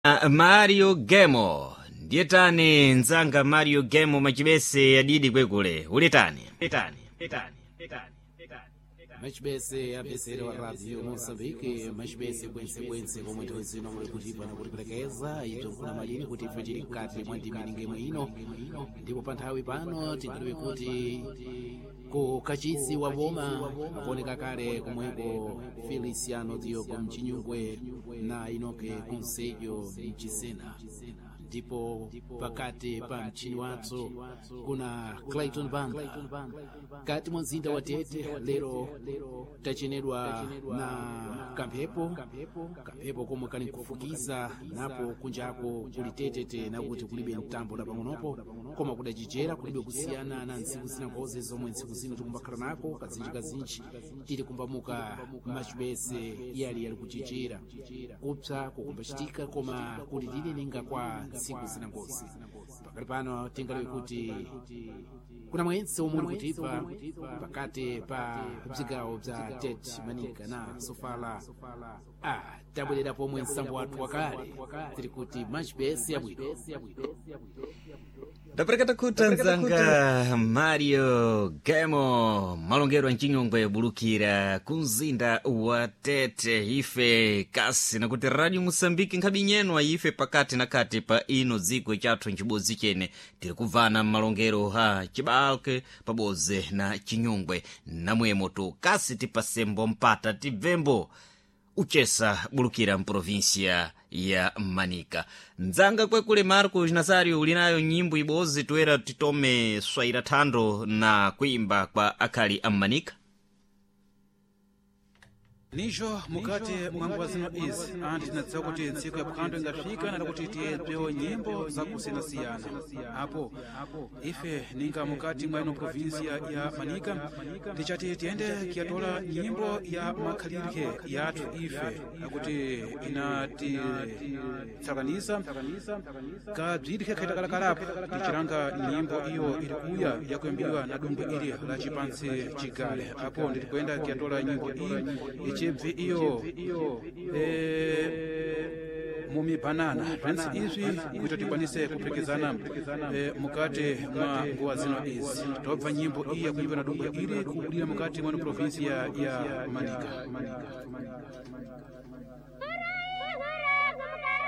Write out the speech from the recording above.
Mario Gemo ndiye tani mnzanga Mario Gemo machibese adidi kwekule ulitani tani tani tani. Machibese apesere wa radio Moçambique, machibese bwensebwense komwe nthawi zino muli kutipa nakutipelekeza ibzo nkuna malini kuti ife tili mkati mwa ndimi ningemwe ino. Ndipo pa nthawi pano tingaliwe kuti ku kachisi wa boma akuoneka kale komweko Feliciano Diogo Mchinyungwe na Inoke Conselho Mchisena, ndipo pakati pa mchini wathu kuna Clayton Banda kati mwa mzinda wa Tete. Lero tachenedwa na kamphepo, kamphepo komwe kali nkufukiza napo kunjako kuli tetete nakuti kulibe mtambo na pang'onopo, koma kudachichera kulibe kusiyana na ntsiku zina nkhoze zomwe ntsiku zino tikumbakhala nako kazinji tili kumbamuka machibese yali yali kuchichera kupsa kukumbachitika koma kuti tili ninga kwa ntsiku zina ngozi. Pakali pano tingaliwe kuti kuna mwentse omwe uli kutipa pakati pa bzigawo bza Tete, Manika na Sofala. Tabwerera pomwe msambo wathu wakale tiri kuti machibese yabwino. Ndapereketa khuta mnzanga Mario Gemo malongero mchinyongwe bulukira ku mzinda wa Tete. Ife kasi nakuti Radio Moçambique nkhabe nyenwa ife pakati na kati pa ino dziko chathu ncibodzi chene tiri kubvana mmalongero ha cibalke pabodzi na chinyungwe namwemo tu kasi tipasembo mpata tibvembo uchesa bulukira mprovinsia ya Manika. Mdzanga kwekule Marcos Nazario ulinayo nyimbo ibodzi toera titome swaira thando na kuimba kwa akhali a Manika. Nijo mukati mwa nguwa zino izi anti tinadziwa kuti ntsiku ya phwando ingafika nada kuti tiyebzewo nyimbo zakusiyanasiyana. Apo ife ninga mukati mwa ino provinsia ya Manika tichati tiyende kiyatola nyimbo ya makhalidwe yathu ife akuti inatitsakanisa kabzidikhe khaitakalakalapo tichilanga nyimbo iyo ili kuya yakuyimbiwa na dumbwe ili la chipansi chigale. Apo nditikuenda kiyatola nyimbo iyi ichibvi iyo mumibanana bzentse izwi kuti tikwanise kupherekezana mukati mwa nguwa zino izi tobva nyimbo iyi yakuimba na dumbwe ili kubudira mukati mwa provinsia ya Manika.